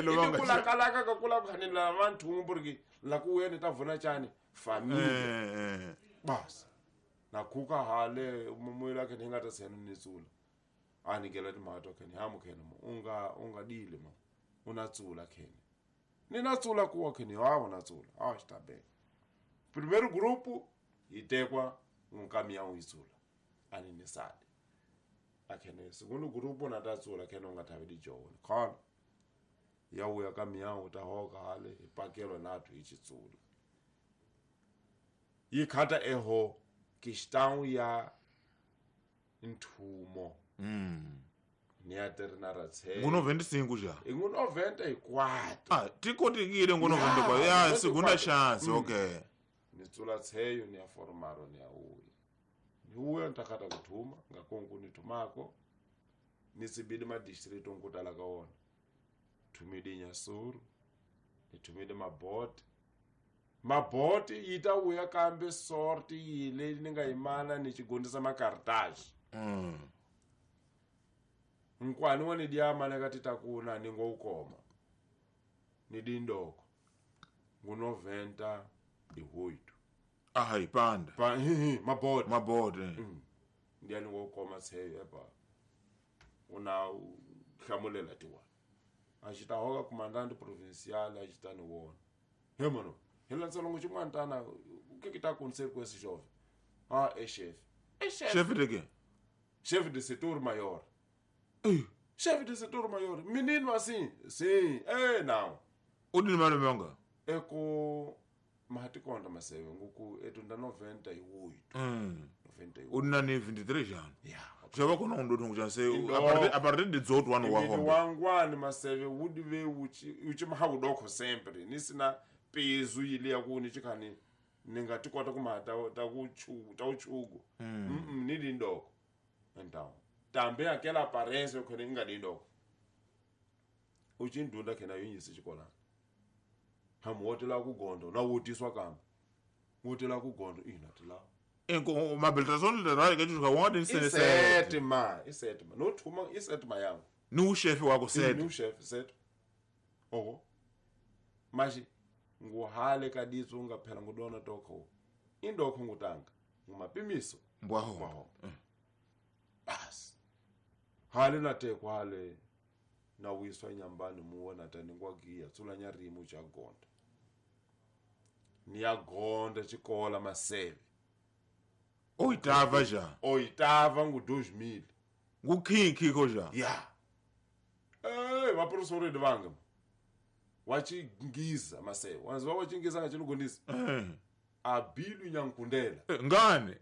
Ini kulakalaka ka kula ku ni lava nthumu porque la ku uya ni ta vona chani família. Bas. Na kuka hale mumuyela ke ninga ta senu ni tsula. A ni gela timhaka ke ni hamu ke mo unga dile mo. Una tsula ke. Ni na tsula kuwa ke ni ha una tsula. Ah, está bem. Primeiro grupo itekwa um caminhão itsula. Ani ni sale. Akene segundo grupo na ta tsula ke no nga thavi di jona. Khona. Ya uya caminhão ta hoka hale ipakelo nathu ichitsula. Yikhata eho questão ya nthumo. Ni ya terna tse. Ngu 95 já. Ngu 94. Ah, tikotikile ngu 94. Ya segunda chance, okay. Ni tsula tseyo ni ya formaro ni ya uya. Ni uya ntakata kuthuma ngakonku ni thumako. Ni tsibidi ma district nkutala ka wona. Thumidi Nyasuru. Ni thumidi Mabote. Mabote yita uya kambe sorti yile ni nga imana ni chigondisa makartaji. Nkwani wani diama na katita kuna ni ngo ukoma. Ni dindoko. Ngu 98. Ah, ipanda. Pa Mabote. Mabote. Ndiani ngo ukoma tseyo epa. Una hlamulela tiwa. Achita hoka comandante provincial achita ni wona. He mano. Hela tsalongo chimwantana o que que tá acontecendo com esse jovem? Ah, é chefe. É chefe. Chefe de quê? Chefe de setor maior. Chefe de setor maior. Menino assim? Sim. É, não. O de número monga? É com mahatikonda maseve nguku etunda 98. 98. O nani 23 anos. Yeah. Já vai com um dono já sei a partir de 18 anos wa homem. Wangwani maseve udive uchi uchi mahawudoko sempre. Nisina pezu ile yakuni chikani ningatikota kumata ta uchugo. Ni dindoko. Então, também aquela aparência que ninga dindoko. Uchindunda kena yinyisi chikola. Hamuotela kugondo na wotiswa kamba. Wotela kugondo inatila. Enko mabilitação de rádio que tu joga onde Isetima, isetima. No thuma isetima yangu. No chefe wako set. No chefe set. Oho. Mas nguhale kaditso ungaphela ngudona tokho. Indokho ngutanga. Ngumapimiso. Mbwaho. Bas. Hale na tekwa hale na wiswa nyambani muona tani ngwagiya tsula nyarimu cha gonda. Ni gonda chikola maseve. Oitava já. Oitava ngu 2000. Ngu kinki ko já. Yeah. Eh, va professor de vanga. Wachingiza maseve. Wanzwa wachingiza ngachinugondisa. Abilu nyankundela. Ngane.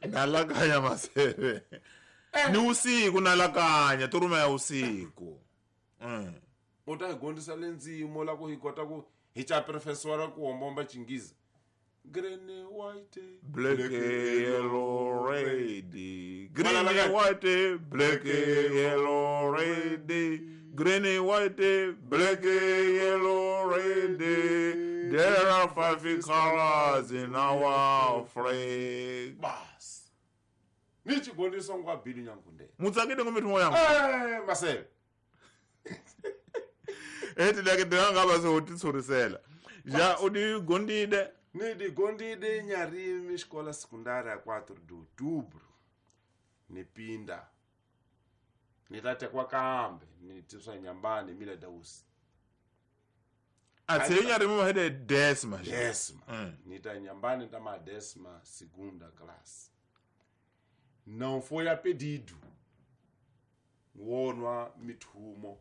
Nalakanya maseve. Ni usiku nalakanya turuma ya usiku. Utagondisa lenzimo la ku hikota ku hicha professor ku hombomba chingiza. Green, white, black, yellow, red. Green, white, black, yellow, red. Green, white, black, yellow, red. There are 5 colors in our flag. Bas. Nichi gondisa ngwa bili nyankunde. Mutsakide ngomithimo yangu. Eh, masebe. Ethi lake ndingaba sotitsorisela. Ja udi gondide. Nidi gondide nyarimi escola secundária 4 de outubro. Nipinda. Nitate kwa kambe, nitiswa nyambani mila dausi. Atse nyarimi mahede décima. Décima. Nita nyambani ndama décima segunda classe. Não foi a pedido. Wonwa mithumo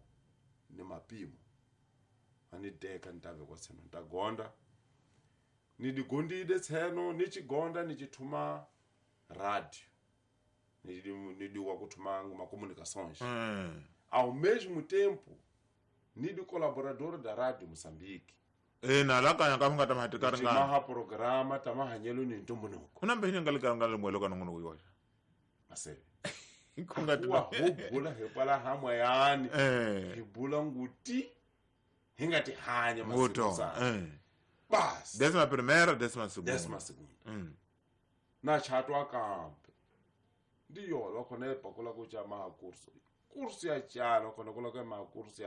ni mapimo. Anideka ntave kwa tseno ntagonda. Nidigondide tseno nichigonda nichithuma rádio. Nidiwa kuthuma uma comunicações. Ao mesmo tempo, nidi colaborador da Rádio Moçambique. E nalakanya ka mngata mahatikari nga. Maha programa tamahanyelo ni ntumbunuko. Unambe hini ngalika ngalo ka nongono kuyiwasha. Masebe. Kungati hubula hepala hamwayani. Hibula nguti hingati hanya masebe. Bas. Décima primeira, décima segunda. Décima segunda. Na chatwa kampe. Ndiyo lokho nepa kula kucha maha kurso. Kurso ya chana khona kula kwa maha kurso ya